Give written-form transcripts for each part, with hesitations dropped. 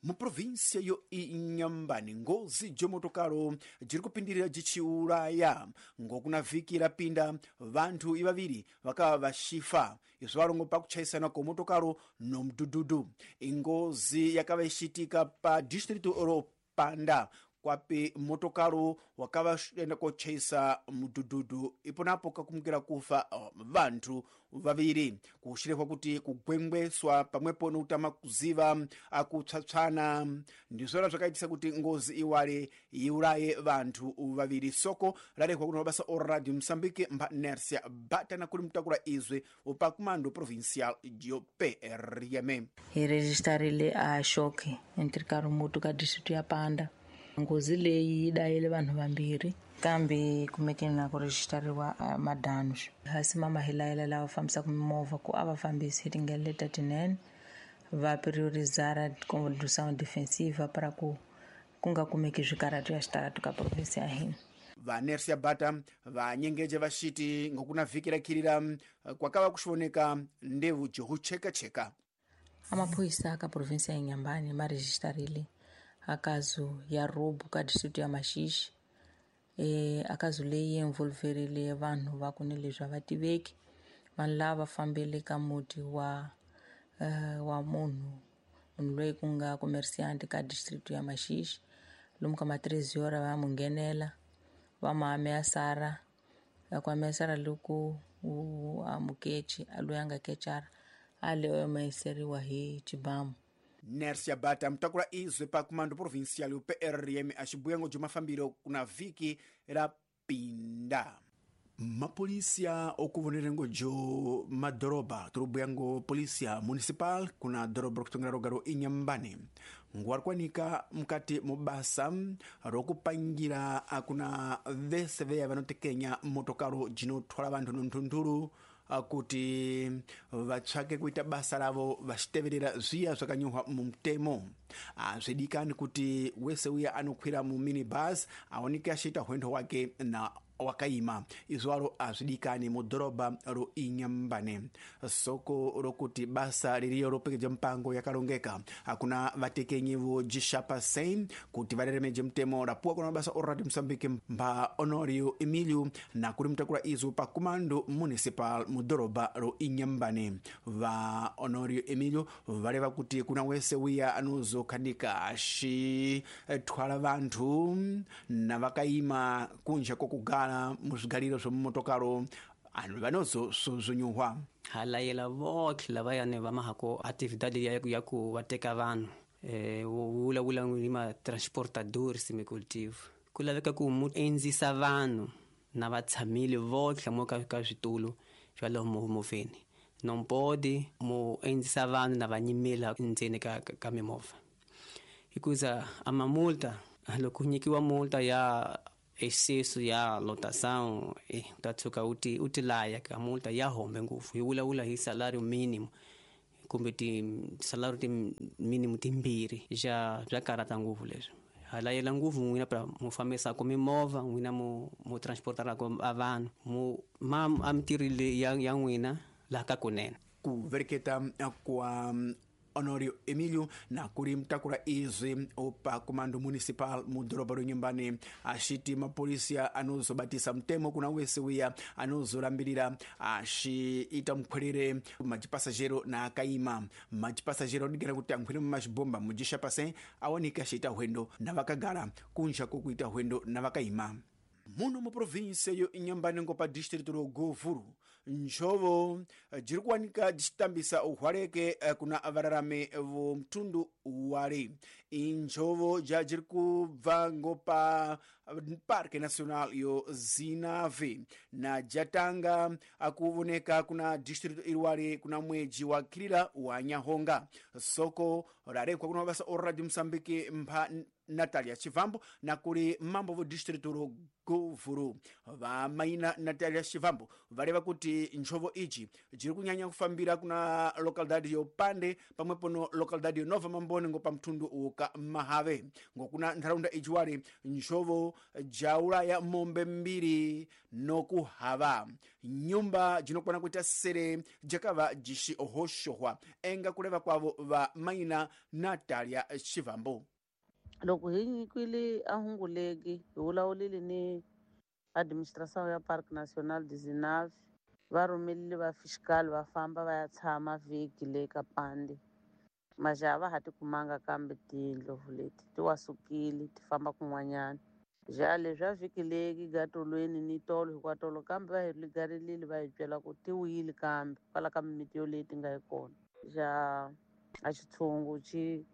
Muprovinsia yo Inhambane, ngozi jomotokalo jiri kupindirira jichiulaya. Ngokuna vhiki rapinda vanthu ivaviri vakava vaxifa, izvo valongo pakuchaisana komotokalo nomdhudhudhu. Ingozi yakava ixitika pa distrito ro Panda, kwapi motokalo wakava enda kochaisa mudhudhudhu, iponapo kakumukira kufa vanthu vaviri. Kuxirehwa kuti kugwengweswa pamwepo nokutama kuziva akupsapsana ndizvona zvakaitisa kuti ngozi iwale iulaye vanthu vaviri. Soko larehwa kuno mabasa o Radio Moçambique mba Nercia Batana kuli mutakula izwe upa comando provincial yo PRM. Hi rejistarile a xoke entre Karumutu ka distrito ya Panda. Ngozi leyi yi dayile vanhu vambirhi, kambe kumekeni na ku rejistariwa madanos. Hasi mama hi layela lava fambisaka mimovha ku a va fambisi hi tindlela leti tinene, va priorizara condução defensiva para ku ku nga kumeki swikarhato ya xitaratu ka provinsi ya hina. Vanersia Bata vanyengeje vaxiti ngokuna vhiki rakhirira kwakava kuxivoneka ndevu johuchekacheka. Amaphorisa ka provinsi ya Inhambane ma rejistarile akazu ya robo ka distrito ya Maxixi. Akazu leyi envolverile vanhu va ku ni leswi a va tiveki, vanhu lava fambele ka muti wa wa munhu loyi ku nga comerciante ka distrito ya Maxixi. Lomu ka ma 3 hora va mu nghenela, va mu ameaçar, ku ameaçar loku a mukechi loyi a nga kechara a le ameaçariwa hi xibamu. Nercia Bata mutakula izwe pa comando provincial yo PRM axibuyango jo mafambiro kuna vhiki ra pinda. Mapolisia okuvonerengo jo madoroba tiri polisia municipal kuna doroba rokutongera roga ro Inhambane nguwa rikuwanika mukati mubasa rokupangira akuna vese veya vanotekenya motokalo jinothwala vanthu nonthunthulu kuti vatsvake kuita basa ravo vachiteverera zviya zvakanyorwa mumutemo. Azvidikani kuti wese uya anokwira mu minibus aoneke achiita hwendo hwake na wakaima, izwalo azvidikani mudhorobha ro Inhambane. Soko rokuti basa ririyo ropekeja mpango yakalongeka akuna vatekenyi vo jixapa sem kuti vareremeje mutemo rapuwa kuna mabasa o Radio Moçambique mba Honorio Emilio na kuli mutakula izo pa comando municipal mudhorobha ro Inhambane. Va Honorio Emilio valeva kuti kuna wese wiya anozokhanika axithwala vanthu na vakaima kunja kokugala muzvigariro zvomumotokaro anhu vanozosuzunyiwa. Ha layela votlhe lavayani va mahako atividade ya ku va teka vanhu vulavula ni ma transportadores micultivo ku laveka ku mu endzisa vanhu na va tshamile votlhe mo ka switulu swa lomu movheni, non pode mu endzisa vanhu na va nyimela ndzeni ka mimovha, hikuza a mamulta loko nyikiwa multa ya excesso ya lotação, ta tshuka u ti laya ka multa ya hombe ngopfu. Hi vulavula hi salario mínimo kumbe ti salario ti mínimo timbirhi ja bya karata ngopfu leswi. Ha layela ngopfu n'wina pra mu fambisaka mimovha n'wina mu transportaraka a vanhu mu ma a mintirho leyi ya n'wina laha ka kunene. Kuvereketa kwa Honorio Emilio na kuli mtakula izwi upa comando municipal mudhorobha ro Inhambane axiti mapolisia anozobatisa mutemo kuna wese wiya anozolambirira axiita mukhwerere majipasajero na akaima. Majipasajero adigera kuti ankhwere mumazhibomba mujixapase aoneke axiita hwendo na vakagara kunja kokuita hwendo na vakaima. Muno mu província yo Inhambane ngo pa distrito ro Govuro njovo jiri kuwanika jicitambisa uhwaleke kuna vararame vo mtundu wale. Injovo ja jiri kubva ngo pa Parque Nacional yo Zinave na jatanga akuvoneka kuna distrito iriwale kuna mweji wa kirira wa Nyahonga. Soko rarekwa kuna mabasa o Radio Moçambique mpha Natalia Chivambo na kuli mambo vo distrito ro Govuro. Vamaina Natalia Chivambo valeva kuti Vati njovo iji jiri kunyanya kufambira kuna localidade yo Pande pamwepo no localidade yo Nova Mambone ngo pamthundu uka Mahave. Ngokuna ntharaunda iji wali njovo jaulaya mombe mbiri nokuhava nyumba jinokwana kuita sere jakava jishi ohoxohwa enga kuleva kwavo va maina Natalia Shivambo. Loko hi nyikwile a hunguleki hi vulavulile ni administração ya Parque Nacional de Zinave, va rhumelile va fiscal va famba va ya tshama vhiki le ka Pande. Majaha va ha ti kumanga kambe tindlovu leti ti wasukile ti famba kun'wanyana. Ja leswi vhiki leki gatolweni ni tolo hikwatolo kambe va hi ligarilile va hi byela ku ti wile kambe kwala ka mimiti yoleyi ti nga yi kona. Ja a xitshungu xi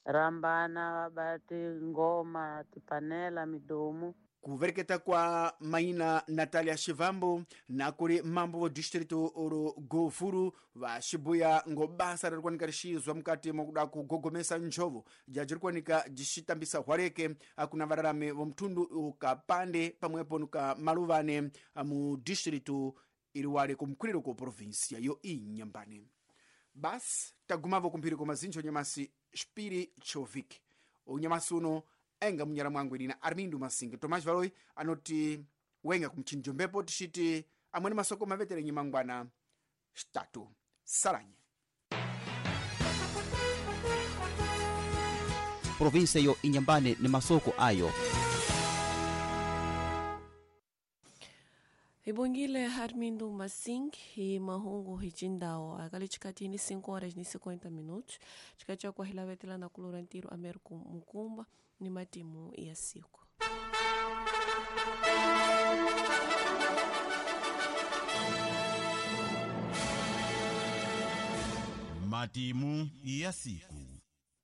rhambana va ba tingoma tipanela midomu. Kuvereketa kwa maina Natalia Shivambo na kuri mambo vo distrito oro Govuru va xibuya ngo basa riri kuwanika rixizwa mukati mwakuda kugogomesa njovo jaji ri kuwanika jixitambisa hwareke akuna vararami vo mthundu ukapande pamwepo nuka maluvane mu distrito iri wale kumkhuliro ku provinsia yo Inhambane. Basi tagumavo kumphiriko mazinjo nyamasi xipiri choviki unyamasi uno enga munyara mwangu inina Armindo Masinga. Tomás Valoi anoti wenga kumchinjo mbepo tixiti amweni masoko mavetere nyimangwana xitatu salanye. Provinsia yo Inhambane ni masoko ayo. Ibongile Armindo Masing e mahungu hicindao akali chikatini 5 horas ni 50 minutos chikacha kwa hilavetela na kulorantiro Américo Mukumba ni matimu ya siku. Matimu ya siku.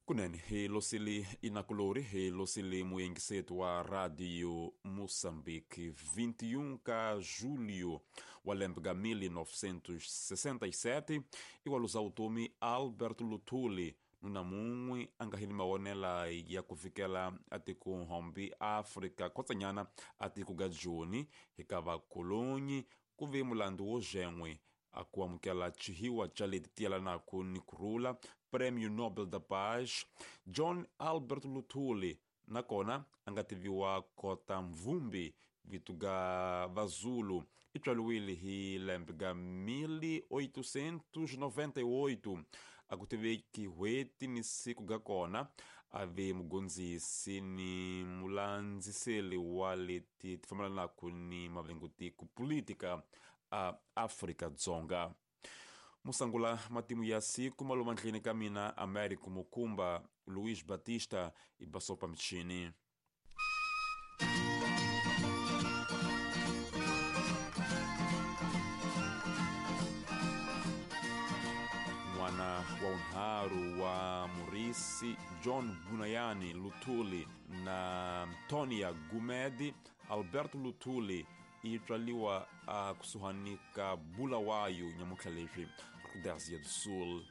Kunene hilosili inakulori hilosili muyengisetu wa Radio Moçambique 21 ka julho wa lembe ga 1967 iwaluza utomi Albert Luthuli nuna mun'we a nga hini mawonela ya kufikela atiko hombi Afrika kotsanyana atiko ga Joni hika vakolonyi ku ve mulandu wo zen'we a ku amukela chihiwa cha leti tiyelanaku ni kurhula Prêmio Nobel da Paz John Albert Luthuli nakona a nga tiviwa kota mvumbi vito ga vazulu i tswaliwile hi lembe ga 1898 a ku tiveki hweti ni siku ga kona a ve mugondzisi ni mulandziseli wa leti ti fambelanaka ni mavengutiko politika a Afrika Dzonga. Musangula matimu ya siku maluma ndlini ka mina Américo Mukumba Luiz Batista i basopa mchini. Mwana wa unharu wa Murisi John Bunayani Luthuli na Tonia Gumedi Alberto Luthuli i tswaliwa a kusuhani ka Bulawayo nyamuntlha leswi Rhodesia do Sul.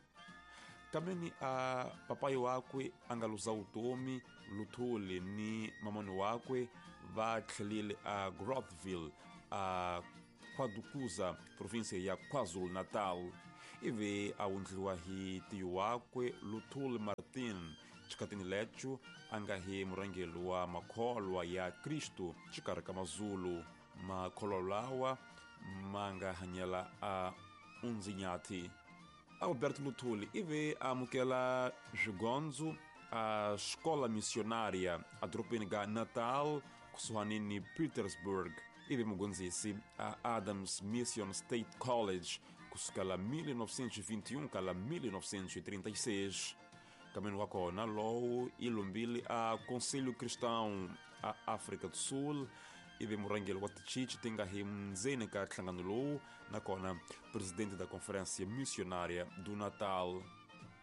Kameni a papai wakwe a nga luza utomi Luthuli ni mamani wakwe va tlhelile a Groutville a KwaDukuza provinsia ya KwaZulu-Natal. Ivi a wundliwa hi tiyu wakwe Luthuli Martin xikhatini lecho a nga hi murhangeri wa makholwa ya Kristu xikarhi ka Mazulu. Makholwa lawa ma nga hanyela a Unzinyathi. Alberto Luthuli ivi a amukela swigondzo a xikola missionaria a dorobeni ga Natal kusuhani ni Petersburg. Ivi mugondzisi a Adams Mission State College kusukela 1921 kala 1936. Kameni wa kona lowu i lombile a Conselho Cristão a África do Sul ivi murhangeri wa tichichi ti nga hi ndzeni ka nhlangano lowu nakona presidente da Conferência Missionária do Natal.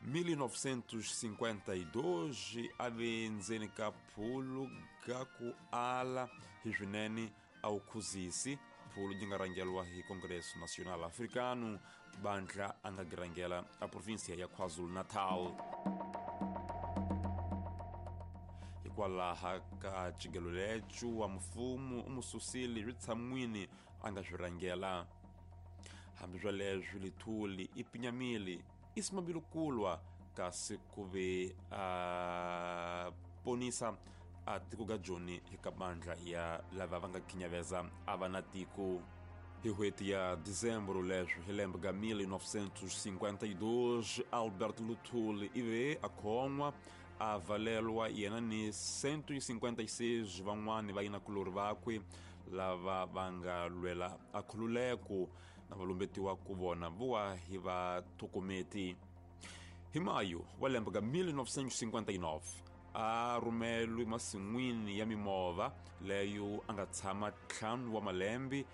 1952 a ve ndzeni ka phulu ga ku ala hi swinene a wu khuzisi phulu yi nga rhangeriwa hi Congresso Nacional Africano bandla a nga girhangela a provinsia ya KwaZulu-Natal. Hikwalaha ka cigelo lecho wa mfumo u mu susile swi tshan'wini a nga swi rhangela. Hambi swoleswo Luthuli i pinyamile i simamile kulwa kasi ku ve a ponisa a tiko ka Joni eka mandla ya lava va nga khinyaveza a va na tiko. Hi n'hweti ya dezembro leswo hi lembe ka 1952 Albert Luthuli i ve a khon'wa a valelwa yena ni 156 van'wani va yinakulori vakwe lava va nga lwela a khululeko na va lumbetiwa ku vona vowa hi va thokometi. Hi mayo wa lembe ka 1959 a rhumelwe masin'wini ya mimovha leyo a nga tshama 5 wa malembe hi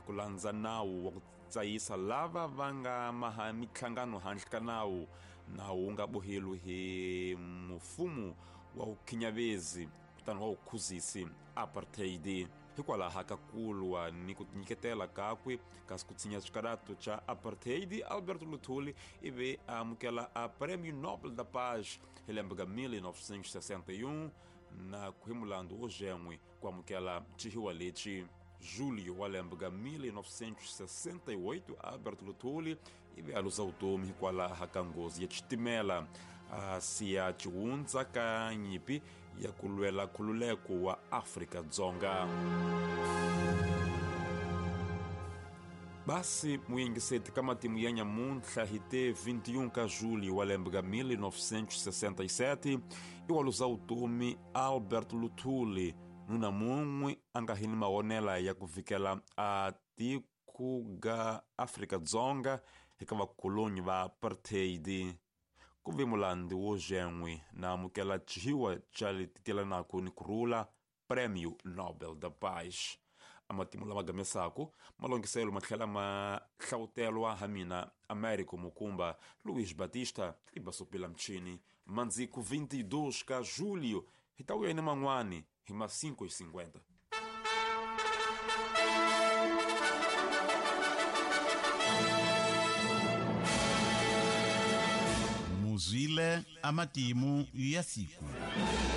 ku landza nawu wa ku tsayisa lava va nga maha mihlangano handle ka nawu. Nawu wu nga boheliwi hi mfumo wa vukhinyavezi kutani wa vukhuzisi apartheid. Hikwalaho ka kulwa ni ku tinyiketela kakwe kasi ku tshinya xikarato xa apartheid, Albert Luthuli i ve a amukela a Prêmio Nobel da Paz hi lembe ka 1961 na ku hi mulandu wo zen'we ku amukela xihiwa lexi. Julho wa lembe ka 1968 Albert Luthuli i ve a luza vutomi hikwalaho ka nghozi ya xitimela a siya xihundza ka nyimpi ya ku lwela nkhululeko wa Afrika-Dzonga. Basi muyingiseti ka matimu ya nyamuntlha hi te 21 ka julho wa lembe ka 1967 i wa luza vutomi Albert Luthuli, nuna mun'we a nga hi ni mavonela ya ku vikela a tiko ga Afrika-Dzonga eka vakolonyi va apartheid. Ku ve mulandzi wo zen'we na amukela xihiwa xa leti telanaka ni kurhula Prêmio Nobel da Paz. A matimu lama gamesako malongiselo ma tlhela ma hlawutelwa ha mina Américo Mukumba, Luiz Batista i Basopela Mchini. Mandziku 22 ka julho hi ta vuya ni man'wani hi ma 5:50. Muzwile amatimu ya siku.